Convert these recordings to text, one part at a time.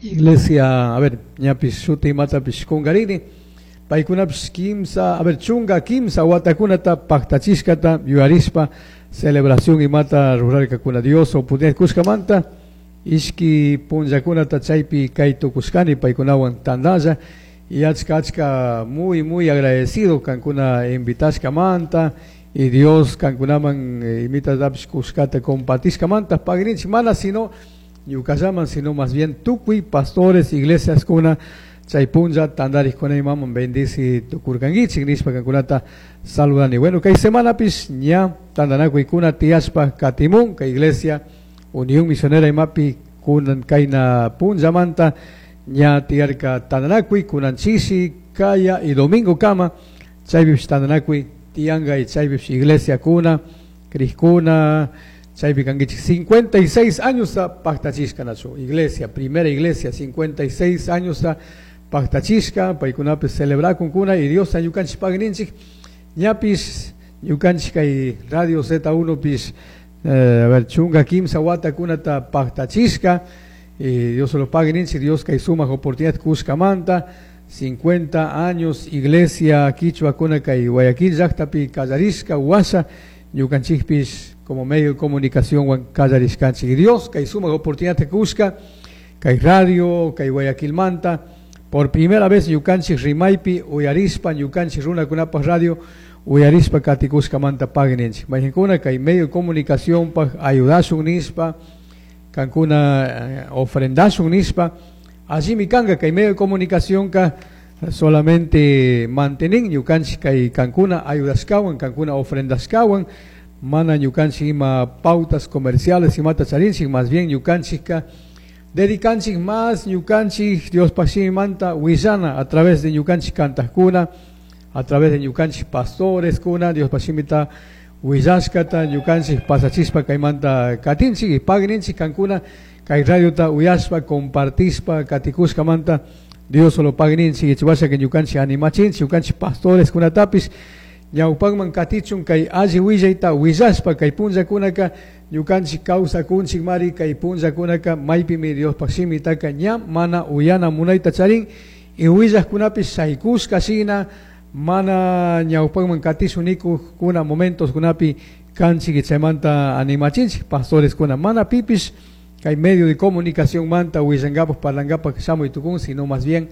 Iglesia, a ver, ñapish shuti imatapish kungarini, paykunapish kimsa, a ver, 13 watakunata paktachishkata yuyarishpa celebración imata rurarkakuna. Dios oportunidad kushkamanta ishki punllakunata chaypi kay tukushkani paykunawan tandalla y achka achka muy muy agradecido kankuna invitashkamanta y Dios kankunaman imitatapish kushkata compartishkamanta pagrinchik, mana sino ñukallaman, sino más bien tukuy pastores, iglesias kuna chay punlla tandarikuna imaman bendici tukurkankichik nishpa kankunata saludani. Bueno, kay semanapish ña tandanakuykuna tiyashpa katimun kay iglesia Unión Misionera imapi kunan kayna punllamanta ña tiyarka tandanakuy kunan chishi, kaya y domingo kama chaypish tandanakuy tiyanka y chaypish iglesia kuna krikuna chaypi kankichik. 56 años paktachishka nachu iglesia, primera iglesia, 56 años paktachishka, paykunapish celebrakunkuna y Dios ñukanchik pagninchik ñapish ñukanchik kay Radio Z1 pish, a ver, 13 watakunata paktachishka y Dios lo pague ninchik, Dios kay sumak oportunidad kushkamanta. 50 años iglesia quichua kuna kay Guayaquil llaktapi kallarishka washa ñukanchikpish como medio de comunicación wan kallarishkanchik. Dios kay sumak oportunidad kushka kay radio kay Guayaquilmanta por primera vez ñukanchik rimaypi uyarishpa ñukanchik runakunapaj radio uyarishpa katikushkamanta pague ninchik. Mayqinkuna kay medio de comunicación paj ayudashun nishpa kankuna ofrendashun nishpa allimi kanka kay medio de comunicación ka solamente mantenin ñukanchik kay kankuna ayudashkawan kankuna ofrendashkawan, mana ñukanchik ima pautas comerciales imata charinchik, más bien ñukanchik ka dedicanchik más ñukanchik Diospaj shimimanta willana a través de ñukanchik kantajkuna, a través de ñukanchik pastores kuna Diospaj shimita willashkata ñukanchik pasachispa kaymanta katinchik y pagninchik kankuna kay radiota uyashpa compartishpa katikushkamanta Dios solo pagninchik y chiwasha que ñukanchik animachinchik ñukanchik pastores kunatapis ñawpakman katichun kay alli willayta willashpa kay punllakunaka ñukanchik kawsakunchik mari kay punllakunaka maypimi Diospaj shimitaka ña mana uyana munayta charin y willajkunapis shaykushka shina mana ñawpakman katishun nikujkuna momentos kunapi kanchik y chaymanta animachinchik pastores kuna mana pipish kay medio de comunicación manta willankapaj parlankapaj shamuy tukun, sino más bien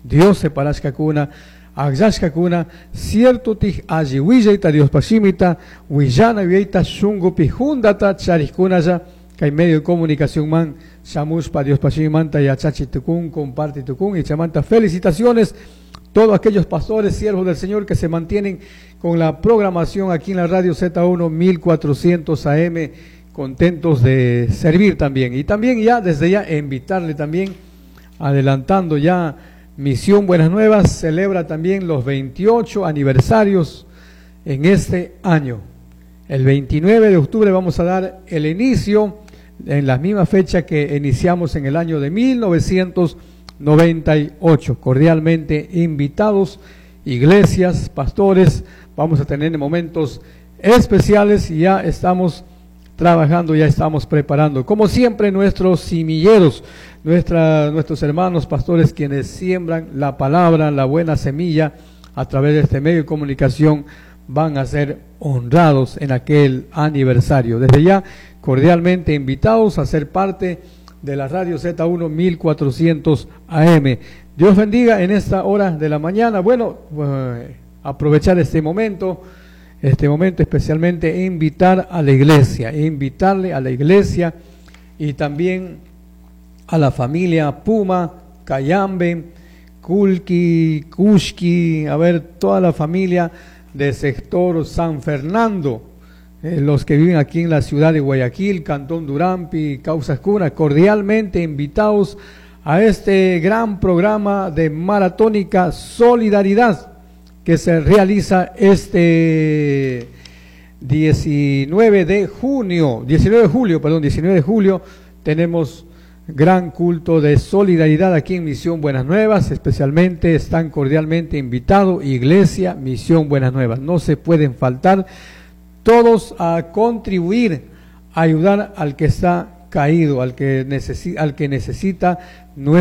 Dios separashkakuna akllashkakuna cierto tij alli willayta Diospaj shimita willana yuyayta shunkupi juntata charikkunalla kay medio de comunicación man shamushpa Diospaj shimimanta yachachi tukun comparte tukun y chaymanta felicitaciones todos aquellos pastores, siervos del Señor que se mantienen con la programación aquí en la radio Z1 1400 AM, contentos de servir también. Y también ya, desde ya, invitarle también, adelantando ya, Misión Buenas Nuevas celebra también los 28 aniversarios en este año. El 29 de octubre vamos a dar el inicio en la misma fecha que iniciamos en el año de 1998. Cordialmente invitados, iglesias, pastores, vamos a tener momentos especiales y ya estamos trabajando, ya estamos preparando. Como siempre, nuestros semilleros, nuestros hermanos pastores quienes siembran la palabra, la buena semilla a través de este medio de comunicación, van a ser honrados en aquel aniversario. Desde ya, cordialmente invitados a ser parte de la radio Z1 1400 AM. Dios bendiga en esta hora de la mañana. Bueno, aprovechar este momento especialmente invitar a la iglesia, invitarle a la iglesia y también a la familia Puma, Cayambe, Culqui, Cushqui, a ver, toda la familia del sector San Fernando, los que viven aquí en la ciudad de Guayaquil, Cantón Durampi, Causascuna, cordialmente invitados a este gran programa de Maratónica Solidaridad que se realiza este 19 de junio, 19 de julio, perdón, 19 de julio, tenemos gran culto de solidaridad aquí en Misión Buenas Nuevas, especialmente están cordialmente invitados Iglesia Misión Buenas Nuevas, no se pueden faltar todos a contribuir, a ayudar al que está caído, al que necesita nuestra